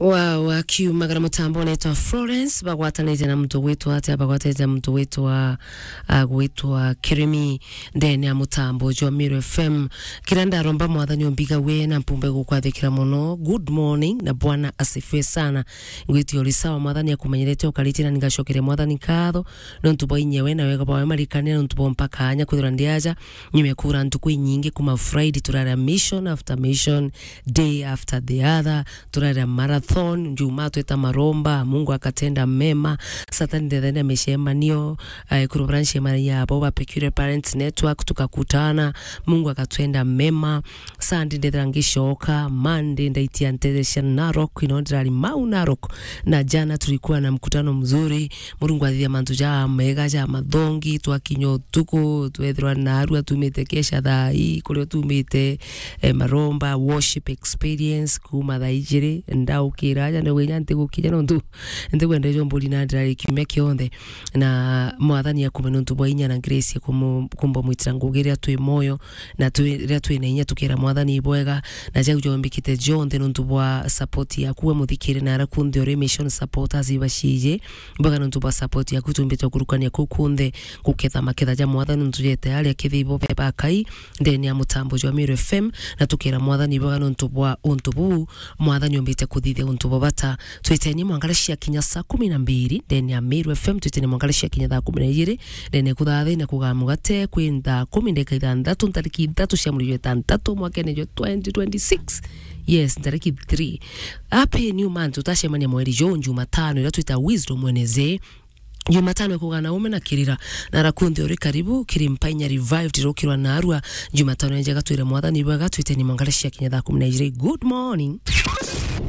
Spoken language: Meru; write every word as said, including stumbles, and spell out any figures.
Wow, akiumagara mutambo unetwa Florence, bagwatanite na muntu gwitwa atia? Bagwatanite na muntu gwitwa, ah, gwitwa Keremi, ndene ya mutambo jwa Meru F M. Kira ndaromba Mwathani umbiga we na mpumbe gukwathikira muno. Good morning, na Bwana asifiwe sana. Ngwiti uri sawa, Mwathani akumenyerete ukaritie, na ningacokeria Mwathani nkatho, nontu bwa inya we na wega bwawe marikania, nontu bwa mpaka anya kwithirwa ndi aja, nyuma ya kura ntuku inyingi kuma Friday, turaria mission after mission, day after the other, turaria marathon, Juma tweta maromba, Mungu akatenda mema, Saturday ndethenda micemanio, eh, kuru branch ya mara yabo ba Peculiar Parents Network, tukakutana, Mungu akatwenda mema, Sunday ndethira ngicoka, Monday ndaitia ntethecia Narok, ino ndirari mau Narok, na jana tulikuwa na mkutano mzuri, Murungu athithia mantu ja mega ja mathongi, twakinya utuku, twethirwa narua tumite kesha thaa ii, kuria tumite, eh, maromba, worship experience, kuma thaa ijiri, ndaukira aja, ndauga inya ntigukinya nontu ntikwenda ijo mburi na ndirari kiumia kionthe, na Mwathani akume nontu bwa inya na grace ya kumu-, kumba mwitira ngugi riria twi moyo, na twi-, riria twina inya tukira Mwathani ibwega, na jau jombikite jonthe nontu bwa support yaku we muthikiri na ara kunthe uri mission supporters ibaciiji, bwega nontu bwa support yaku tumbite kurukania kuu kunthe, guketha maketha ja Mwathani nontu jete aria kithi ibo beba Kai, ndene ya mutambo jwa Meru F M, na tukira Mwathani bwega nontu bwa untu buu, Mwathani umbite kuthithia untu bwa bata. Twiteni mwangara cia kinya saa kumi na mbiri, ndene ya Meru F M, twiteni mwangara cia kinya thaa kumi na ijiri, ndene kuthathi na kugaa mugate, kwi thaa kumi ndeka ithanthatu, ntariki ithatu cia mweri jwa itantatu, mwakene jwa twenty twenty-six. Yes, ntariki three. Happy new month, tutacemania mweri juu Jumatano, ira twita Wisdom Wednesday. Jumatano ikugana ume na kirira, na ara kunthe uri karibu, kiri Mpainya Revived, irukirwa narua. Jumatano njega twire Mwathani bwega, twiteni mwangara cia kinya thaa kumi na ijiri. Good morning.